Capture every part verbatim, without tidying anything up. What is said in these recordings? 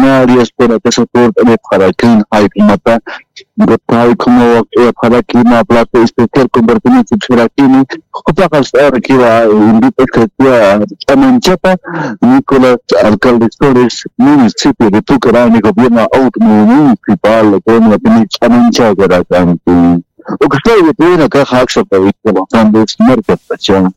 funcionarios, kunatasa purt'anipxarakin, jayp'umata, jayp'uma waqt'ayapxaraki, mä plato especial compartimiento sipxirakini, jupaqas ahora kiwa invit'askatiwa ch'amanchapa, Nicolás Alcalde Flores, municipio de Tucarani, gobierno autonomía municipal, kunatini ch'amanchakarakanti. Ukstay yatiyinakaxa aksa pawitwa Los Andes, markatpacha.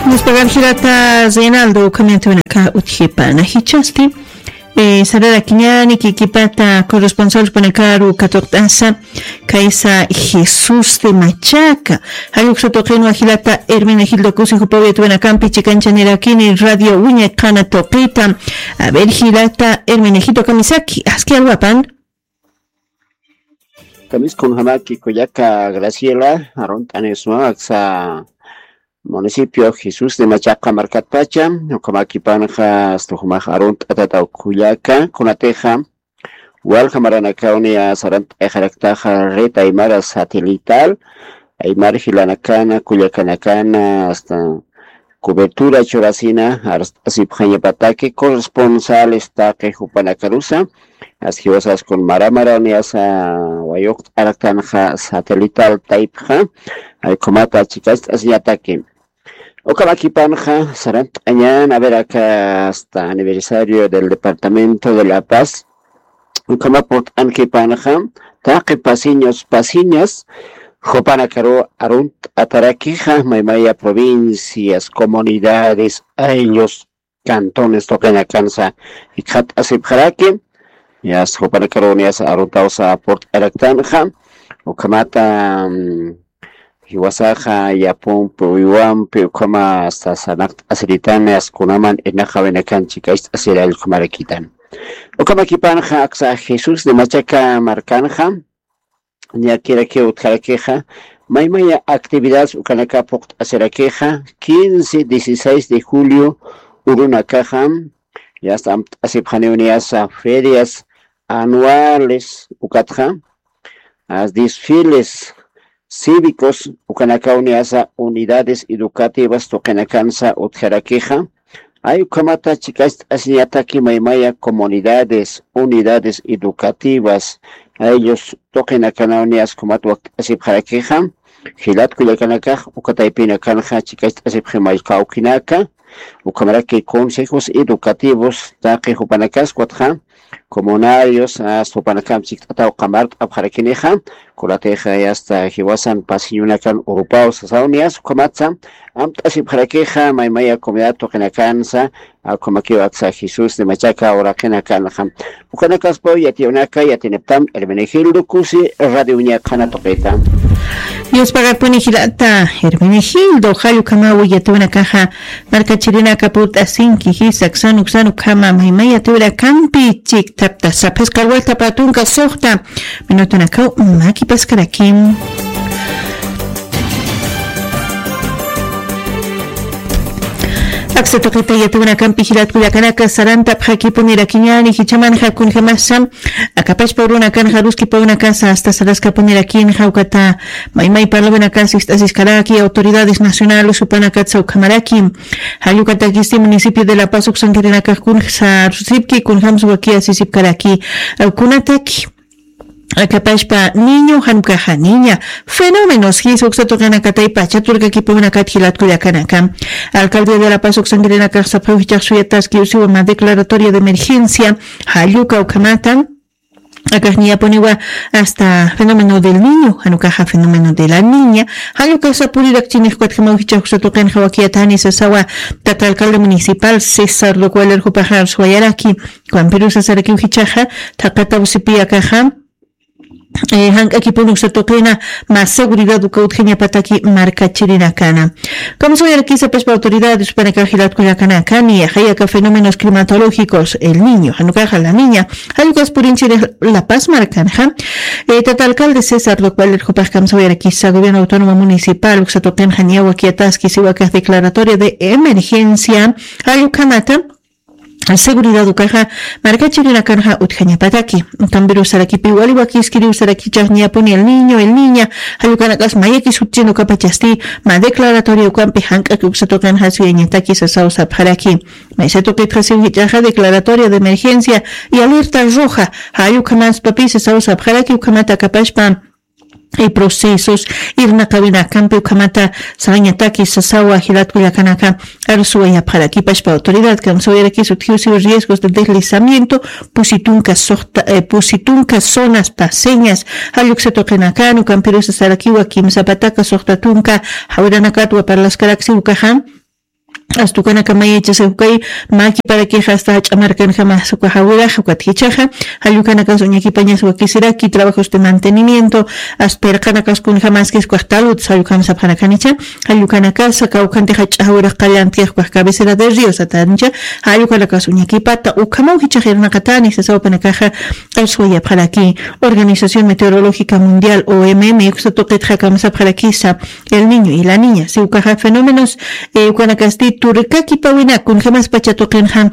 Nispagar jilata Reinaldo ukhamiyantiwinaka utjipana jichhasti, eh, sararakiñäni kikipata corresponsalpanakaru katuqt'asa kaysa Jesús de Machaca. Jalluksa tuqinwa jilata Hermenegildo Kusi jupaw yatiyinakampi chikanchanirakini Radio Wiñay qhana tuqita. A ver, jilata Hermenegildo kamisaki, aski alwapan. Kamisaki kunjamaki kullaka Graciela, arunt'anisma aksa municipio Jesús de Machaca markatpacha, ukhamakipanxa asta jumax arunt'atata kullaka, kunatixa walja maranakawni sarant'ayxaraktaxa red aymara satelital, aymar jilanakana, kullakanakana, asta cobertura churasina, arst'asipxañapataki corresponsales taqi jupanakarusa, aski jiwasas kun mara maraniyasa wayuqt'araktanxa satelital taypxa, ay, ukhamata chikast'asiñataki. Ukhamakipanxa sarant'añan, a ver, acá hasta aniversario del departamento de La Paz, ukhama purt'ankipanxa, taqi paceños, paceñas, jupanakaru arunt'atarakixa, maymaya provincias, comunidades, ayllus, cantones tuqinakansa jikxatasipxaraki, Yasta jupanakaruw niyasa arutawsa purt'araktanxa. Ukhamata, mm, jiwasaxa yapumpi uywampi ukhama sasanaqt'asiritan, yasta kunaman irnaqawinakan chikacht'asirallkhamarakitan. Ukhamakipanxa aksa Jesús de Machaca markanxa, ñakirakiw utjarakixa, maymaya actividades ukanaka puqt'asirakixa, quince, dieciséis de julio urunakaxa, yasta amt'asipxaniw niyasa ferias anuales ukatxa, as desfiles cívicos ukanakaw niyasa unidades educativas tuqinakansa utjarakixa, ay ukhamata chikacht'asiñataki maymaya comunidades, unidades educativas, aylus tuqinakanaw niyas ukhamat wakt'asipxarakixa, jilat kullakanakax ukataypinakanxa chikacht'asipxi mallkawkinaka, ukhamaraki consejos educativos taqi jupanakas ukatxa, comunarios, as jupanakam chikt'ataw qamart'apxarakinixa, kulatixa yasta jiwasan pasiñunakan urupaw sasaw niyas ukhamatsa, amt'asipxarakixa maymaya comunidad tuqinakansa, ukhamakiw aksa Jesús de Machaca uraqinakanxa. Ukanakaspaw yatiyunaka, yatiniptam Hermenegildo Kusi, Radio Uña qhana tuqita. Dios pagakpuni jilata Hermenegildo, jall ukhamaw yatiyunakaxa, markachirinaka purt'asinki, jisa aksan uksan ukhama maymaya yatiyurakampi chikt'aptasa, phisqa waltha pä tunka suxta minutunakaw makipaskaraki. Aksa tuqita yatiyunakampi jilat kullakanaka sarantapxakipunirakiñäni, jichhamanxa kunjamasa akapachpa urunakanxa aruskipawinakasa hasta saraskapunirakinxa, ukata maymay parlawinakas ist'asiskaraki, autoridades nacionales jupanakatsa ukhamaraki. Jall ukatakisti municipio de La Paz uksankirinakax kunjsa arsusipki, kunjamsa wakiy asisipkaraki. Kunataki akapachpa niño, jan ukaxa niña, fenómenos jisa uksa tuqinakatay pacha turkakipawinakat jilat kullakanaka. Alcaldía de La Paz uksankirinakax sapxiw jichhax suyataskiw siwa mä declaratoria de emergencia, jall uka ukhamata akax niyapuniwa hasta fenómeno del niño, jan ukaxa fenómeno de la niña, jall ukasa purirakchinix ukatjamaw jichhax uksa tuqinxa wakiyatani sasawa tata alcalde municipal César Duque Valer jupaxa arsuwayaraki. Ukampirusa sarakiw jichhaxa, thaqataw sipi akaxa, eh, jank'akipuni uksa tuqina mä seguridad uka utjañapataki markachirinakana. Kamsawayarakisa pachpa autoridades jupanakax jilat kullakanaka, niyaxay aka fenómenos climatológicos, el niño, jan ukaxa la niña, jall ukas purinchiri La Paz markanxa. Eh, tata alcalde César Duque Valer jupax kamsawayarakisa gobierno autónomo municipal uksa tuqinxa niya wakiyataski siwa akax declaratoria de emergencia, jall ukhamata seguridad ukaxa markachirinakanxa utjañapataki. Ukampiruw sarakipi wali wakiskiriw sarakichhax niyapuni el niño, el niña, jall ukanakas mayakis utjchin ukapachasti mä declaratoria ukampi jank'aki uksa tuqinxa suyañataki sasaw sapxaraki. Maysa tuqitxa siw jichhaxa declaratoria de emergencia y alerta roja, jall ukhamanspapis sasaw sapxaraki, ukhamata akapachpa y procesos irnaqawinakampi ukhamata sañataki sasawa jilat kullakanaka arsuwayapxaraki. Pachpa autoridad kamsawayarakis utjiw siw riesgos de deslizamiento, pusi tunka suxta, eh, pusi tunka zonas paceñas, jall uksa tuqinakan. Ukampirusa sarakiwa kimsa pataka suxta tunka jawiranakatwa parlaskarak siw ukaxa. Astukanaka mayachasa ukay makiparakixa asta jach'a markanjamas uka jawiraxa ukat jichhaxa, jall ukanakas uñakipañas wakisiraki, trabajos de mantenimiento, asta pirqanakas kunjamaskis ukax talud, jall ukham sapxanakanicha, jall ukanakasa kawkhanti jach'a jawirax qallantix ukax cabecera de río satancha, jall ukanakas uñakipata ukhamaw jichhax irnaqatani sasaw jupanakaxa arsuwayapxaraki. Organización Meteorológica Mundial, O M M, uksa tuqitxa kamsapxarakisa, el niño y la niña, siw ukaxa fenómenos, eh, ukanakasti turkakipawina kunjamas pacha tuqinxa,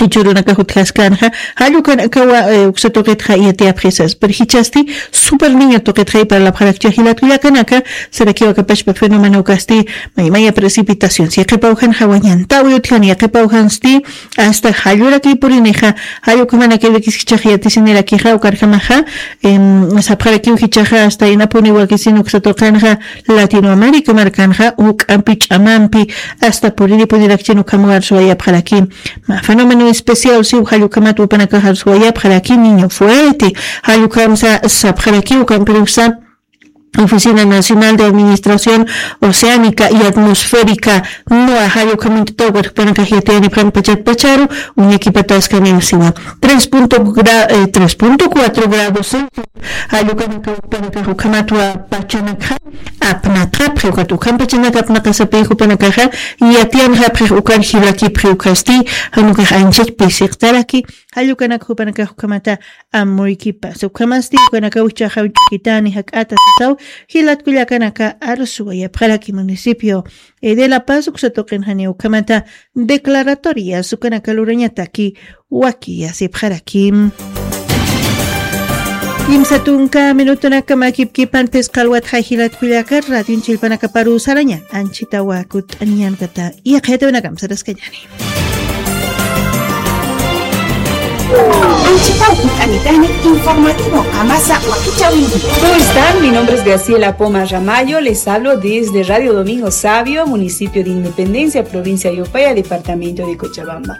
jichhürunakax utjaskanxa, jall ukanakawa, eh, uksa tuqitxa yatiyapxisas. Pero jichhasti super niño tuqitxay parlapxarakcha jilat kullakanaka, sarakiw akapachpa fenómeno ukasti maymaya precipitación. Si yaqhipaw jan jawañantawi utjani, yaqhipaw jansti asta jalluraki purinixa, jall ukhamanakirakis jichhax yatisinirakixa, ukarjamaxa, em, sapxarakiw jichhaxa asta inapuni wakisin uksa tuqinxa Latinoamérica markanxa, juk'ampi ch'amampi asta puriripunirakchin ukhamaw arsuwayapxaraki. Mä fenómeno especial siw jall ukhamat jupanakax arsuwayapxaraki, niño fuerte, jall ukhamsa sapxaraki, ukampiruksa Oficina Nacional de Administración Oceánica y Atmosférica, noa, jall ukhamantataw ukat jupanakax yatiyanipxan pachat pacharu uñakipataskani sina. Tres punto gra-, eh, tres punto cuatro grados Celsius. Jall ukanakaw jupanakax ukhamatwa pachanakxa apnaqapxi, ukat ukham pachanak apnaqasapï jupanakaxa yatiyanxapxix ukan jilakipxi ukasti, jan ukax anchach pisiqtaraki. Jall ukanak jupanakax ukhamata amuykipas. Ukhamasti ukanakaw jichhaxa ch'ukitani jak'ata sasaw, jilat kullakanaka, arsuwayapxaraki municipio, eh, de La Paz uksa tuqin janiw ukhamata declaratorias ukanaka lurañataki wakiyasipxaraki. Kimsa tunka minutonaka makipkipan phisqa alwatxa jilat kullaka, radion chillpanakaparu saraña anchhitawa kut'añankata, yaqhayatiwinakam saraskañani. Anchhitaw kut'anitani informativo Amasa wakichäwinki. ¿Cómo están? Mi nombre es Graciela Poma Ramallo. Les hablo desde Radio Domingo Sabio, municipio de Independencia, provincia de Upaya, departamento de Cochabamba.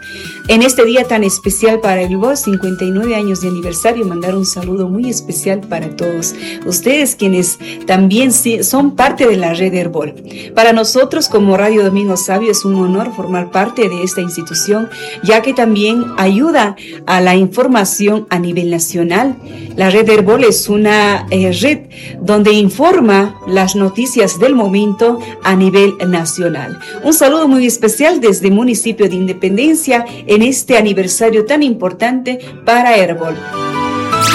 En este día tan especial para el Erbol, cincuenta y nueve años de aniversario, mandar un saludo muy especial para todos ustedes quienes también sí son parte de la red Erbol. Para nosotros como Radio Domingo Sabio es un honor formar parte de esta institución, ya que también ayuda a la información a nivel nacional. La red Erbol es una, eh, red donde informa las noticias del momento a nivel nacional. Un saludo muy especial desde municipio de Independencia en este aniversario tan importante para Erbol.